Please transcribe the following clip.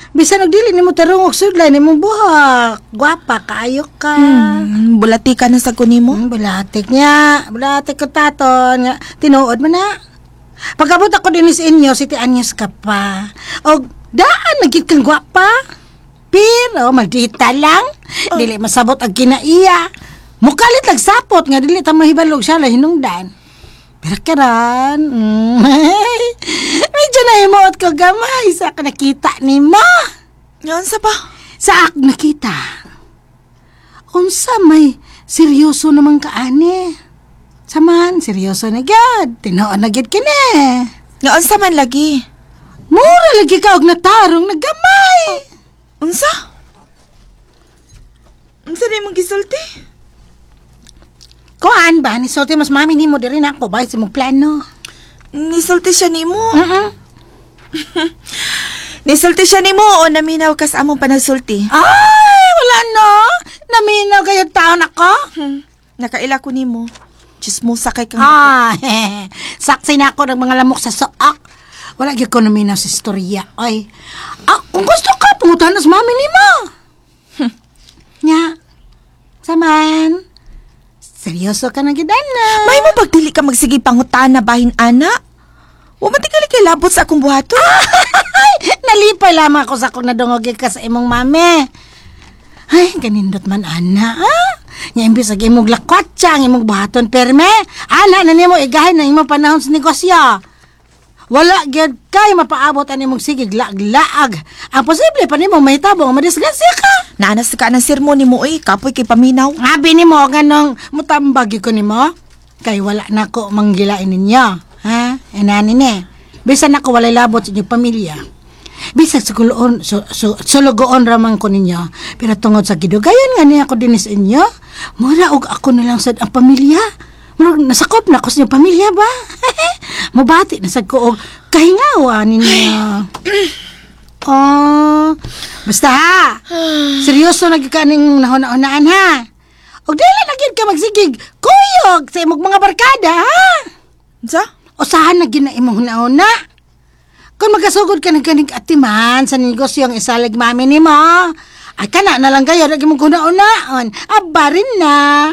Bisan og dili nimo tarong og sudlay nimong buhok. Gwapa kaayo ka. Bulati ka na sa kunimo. Bulatik niya. Bulatik ko taton. Nga, tinuod man na. Pagabot ako din sa inyo, 7 anyos ka pa. O daan, nagit kang gwapa. Pero, maldita lang. Dili masabot ang kinaiya. Mukalit lang sapot nga dili ta mahibalog siya lang hinungdan. Pero karan, medyo nahimuot ko gamay sa ako nakita ni mo. Nga unsa pa? Sa ako nakita. Unsa may seryoso naman ka ani. Saman, seryoso na gyud. Tinuod na gyud kini. Nga unsa man lagi? Mura lagi ka og natarong nagamay. Unsa? Unsa na imong gisulti? Kuan ba ni sulti mas mami nimo diri na ako ba sa imong plano. Nisulti siya nimo. Nisulti siya nimo o naminaw ka sa among panagsulti? Ay, wala no. Naminaw kayo taon ako. Nakaila ko nimo. Chismosa kay kang Ah, saksi na ako ng mga lamok sa soak. Wala gyud ko naminaw sa istorya. Ay, ah, kung gusto ka, pangutahan na sa mami nimo. Nya, saman, seryoso ka na gyud, ana. May mo pagdili ka magsige pangutana bahin ana? Wa man tingali kay labot sa akong buhaton. Ay, nalipay lamang ako sa akong nadungog ka sa imong mami. Ay, ganindot man, ana. Ah? Nga imbis ag imong lakwatsa, ang imong buhaton perme. Ana, na nimo igahin ang imong panahon sa negosyo. Wala gyud kay mapaabot ang imong sigig laag-laag. Ang posible pa nimo mahitabo nga madisgrasya ka. Naanas ka ng sermon nimo oy, kapoy kay paminaw. Abi nimo nganong mutambag gyud ko nimo. Kay wala na ko manggilain ninyo. Ha? Inani ni. Bisan ako walay labot sa inyong pamilya. Bisag sa kuloon, sulugoon raman ko ninyo. Pero tungod sa gidugayan nga niya ako din sa inyo, mura og ako na lang sad ang pamilya. Murag nasakop na ako sa inyong pamilya ba? Mubati na sad ko og kahingawa ninyo. Oh, basta ha. Seryoso na gyud ka ning nahuna-hunaan ha. Og dili na gyud ka magsigig kuyog sa imong mga barkada ha. Unsa? Usahan na gyud na imong hunahuna. Kung magasugod ka ng ganig atiman sa negosyo ang isalig mami nimo, ay kana na lang kayo lagi mong hunahunaon. Aba rin na.